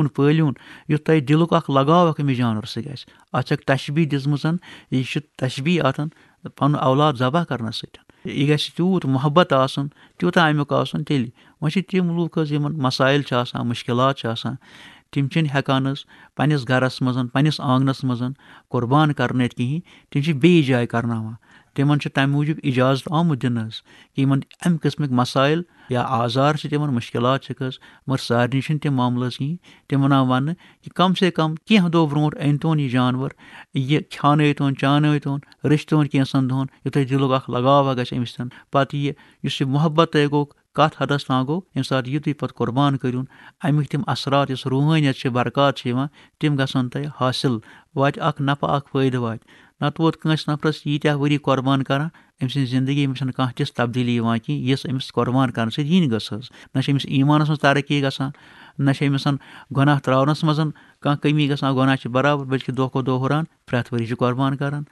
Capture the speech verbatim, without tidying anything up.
پٲلیوٗن، یُتھ تۄہہِ دِلُک اکھ لگاو اکھ أمِس جانور سۭتۍ گژھِ۔ اتھ چھکھ تشبیٖہ دِژمٕژ، یہِ چھِ تشبیٖہ اتھ پنُن اولاد ذبح کرنس سۭتۍ۔ یہِ گژھِ تیوٗت محبت آسُن، تیوٗتاہ امیُک آسُن تیٚلہِ۔ وۄنۍ چھِ تِم لوٗکھ حظ یِمن مسائل چھِ آسان، مشکلات چھِ آسان، تِم چھِنہٕ ہٮ۪کان حظ پننِس گرس منٛز، پننِس آنگنس منٛز قربان کرنٲوِتھ کِہیٖنۍ، تِم چھِ بیٚیِس جایہِ کرناوان۔ تِمن چھُ تمہِ موٗجوٗب اجازت آمُت دِنہٕ حظ، کہِ یِمن امہِ قٕسمٕکۍ مسائل یا آزار چھِ تِمن، مشکلات چھِکھ حظ، مگر سارنٕے چھِنہٕ تِم معاملہٕ حظ کِہیٖنۍ۔ تِم وَنان وننہٕ کہِ کم سے کم کینٛہہ دۄہ برونٛٹھ أنۍ تون یہِ جانور، یہِ کھیانٲوۍ تون، چانٲوۍ تون، رٔچھۍ تون کینٛژن دۄہن، یُتھُے دِلُک اکھ لگاو اکھ گژھِ أمِس سۭتۍ۔ پتہٕ یہِ یُس یہِ محبت تۄہہِ گوٚو، کتھ حدس تام گوٚو، ییٚمہِ ساتہٕ یہِ تُہۍ پتہٕ قربان کٔرِون، امیِکۍ تِم اثرات، یُس روحٲنیت چھِ، برکات چھِ یِوان، تِم گژھن تۄہہِ حٲصِل، واتہِ اکھ نفع، اکھ فٲیدٕ واتہِ۔ نتہٕ ووت کٲنٛسہِ نفرس ییٖتیٛاہ ؤری قربان کران، أمۍ سٕنٛزِ زندگی منٛز چھنہٕ کانٛہہ تِژھ تبدیٖلی یِوان کینٛہہ، یِژھ أمِس قربان کرنہٕ سۭتۍ یِنۍ گٔژھ حظ۔ نہ چھِ أمِس ایٖمانس منٛز ترقی گژھان، نہ چھِ أمِس گۄناہ ترٛاونس منٛز کانٛہہ کٔمی گژھان، گۄناہ چھِ برابر، بلکہِ دۄہ کھۄتہٕ دۄہ ہُران، پرٛٮ۪تھ ؤری چھِ قربان کران۔